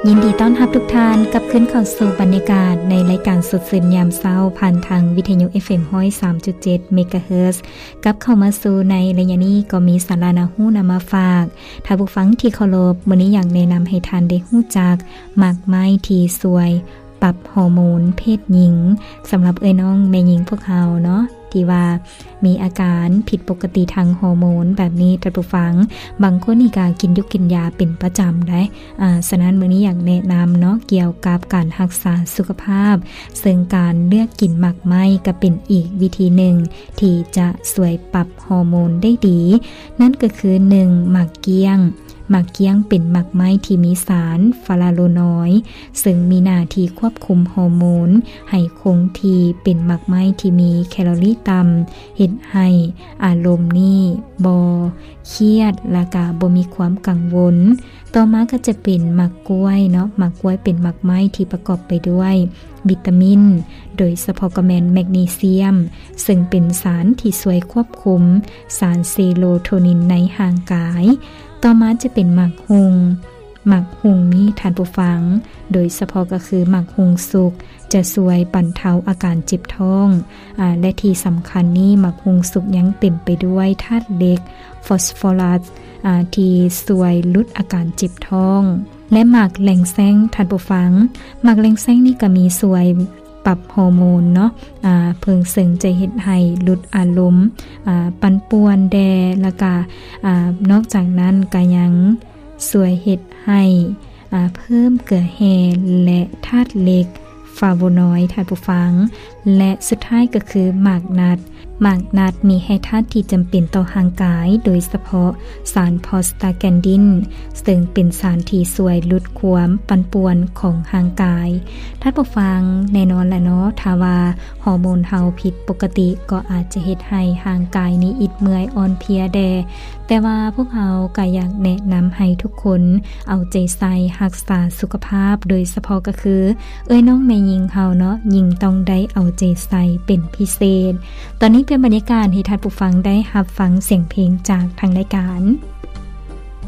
ຍິນດີຕ້ອນຮັບທຸກທ່ານກັບຄືນເຂົ້າສູ່ບັນຍາກາດໃນລາຍການສົດຊື່ນຍາມເຊົ້າ ຜ່ານທາງວິທະຍຸ ເອຟເອັມ ຮ້ອຍສາມຈຸດເຈັດ ເມກາເຮີດ. ກັບເຂົ້າມາສູ່ໃນໄລຍະນີ້ກໍມີສາລະໜ້າຮູ້ນຳມາຝາກ. ທ່ານຜູ້ຟັງທີ່ເຄົາລົບ, ມື້ນີ້ຢາກແນະນຳໃຫ້ທ່ານໄດ້ຮູ້ຈັກໝາກໄມ້ທີ່ຊ່ວຍປັບຮໍໂມນເພດຍິງ. ສຳລັບເອື້ອຍນ້ອງແມ່ຍິງພວກເຮົາເນາະ ທີ່ວ່າມີອາການຜິດປົກກະຕິທາງຮໍໂມນແບບນີ້ ທ່ານຜູ້ຟັງ, ບາງຄົນນີ້ກໍກິນຢາກິນຢາເປັນປະຈຳໄດ໋. ອາ ສະນັ້ນມື້ນີ້ຢາກແນະນຳເນາະ ກ່ຽວກັບການຮັກສາສຸຂະພາບ, ເຊິ່ງການເລືອກກິນໝາກໄມ້ກໍເປັນອີກວິທີໜຶ່ງທີ່ຈະຊ່ວຍປັບຮໍໂມນໄດ້ດີ, ນັ້ນກໍຄື ໜຶ່ງ ໝາກກ້ຽງ. ໝາກກ້ຽງເປັນໝາກໄມ້ທີ່ມີສານຟາລາໂນອຍ ເຊິ່ງມີໜ້າທີ່ຄວບຄຸມຮໍໂມນໃຫ້ຄົງທີ່, ເປັນໝາກໄມ້ທີ່ມີແຄລໍຣີຕ່ຳ, ເຮັດໃຫ້ອາລົມນີ້ບໍ່ຄຽດ ແລະກະບໍ່ມີຄວາມກັງວົນ. ຕໍ່ມາກໍຈະເປັນໝາກກ້ວຍເນາະ, ໝາກກ້ວຍເປັນໝາກໄມ້ທີ່ປະກອບໄປດ້ວຍວິຕາມິນ, ໂດຍສະເພາະກໍແມ່ນແມກນີຊຽມ, ເຊິ່ງເປັນສານທີ່ຊ່ວຍຄວບຄຸມສານເຊໂຣໂທນິນໃນຮ່າງກາຍ. ຕໍ່ມາຈະເປັນໝາກຮຸ່ງ. ໝາກຮຸ່ງນີ້ທ່ານຜູ້ຟັງ, ໂດຍສະເພາະກໍຄືໝາກຮຸ່ງສຸກ ຈະຊ່ວຍບັນເທົາອາການເຈັບທ້ອງ, ອາ ແລະທີ່ສຳຄັນນີ້ ໝາກຮຸ່ງສຸກຍັງເຕັມໄປດ້ວຍທາດເຫຼັກ ຟອສຟໍຣັສ ອາ ທີ່ຊ່ວຍຫຼຸດອາການເຈັບທ້ອງ. ແລະໝາກແລງແຊງ ທ່ານຜູ້ຟັງ, ໝາກແລງແຊງນີ້ກໍມີຊ່ວຍປັບຮໍໂມນເນາະ, ອາ ເພິ່ງເຊິ່ງຈະເຮັດໃຫ້ຫຼຸດອາລົມ, ອາ ປັ່ນປ່ວນແດ່ ແລະກະ ອາ ນອກຈາກນັ້ນກໍຍັງຊ່ວຍເຮັດໃຫ້ ອາ ເພີ່ມເກືອແຮ່ ແລະທາດເຫຼັກຟາໂວນອຍ ທ່ານຜູ້ຟັງ. ແລະສຸດທ້າຍກໍຄືໝາກນັດ. ໝາກນັດມີແຮ່ທາດທີ່ຈຳເປັນຕໍ່ຮ່າງກາຍ, ໂດຍສະເພາະສານໂປຣສຕາແກນດິນ ເຊິ່ງເປັນສານທີ່ຊ່ວຍຫຼຸດຄວາມປັ່ນປ່ວນຂອງຮ່າງກາຍ. ທ່ານຜູ້ຟັງ, ແນ່ນອນລະເນາະ, ຖ້າວ່າຮໍໂມນເຮົາຜິດປົກກະຕິ ກໍອາດຈະເຮັດໃຫ້ຮ່າງກາຍນີ້ອິດເມື່ອຍອ່ອນເພຍແດ່. ແຕ່ວ່າພວກເຮົາກໍຢາກແນະນຳໃຫ້ທຸກຄົນເອົາໃຈໃສ່ຮັກສາສຸຂະພາບ, ໂດຍສະເພາະກໍຄືເອື້ອຍນ້ອງແມ່ຍິງເຮົາເນາະ, ຍິ່ງຕ້ອງໄດ້ເອົາໃຈໃສ່ເປັນພິເສດ. ຕອນນີ້ປ່ຽນບັນຍາກາດໃຫ້ທ່ານຜູ້ຟັງໄດ້ຮັບຟັງສຽງເພງຈາກທາງລາຍການ.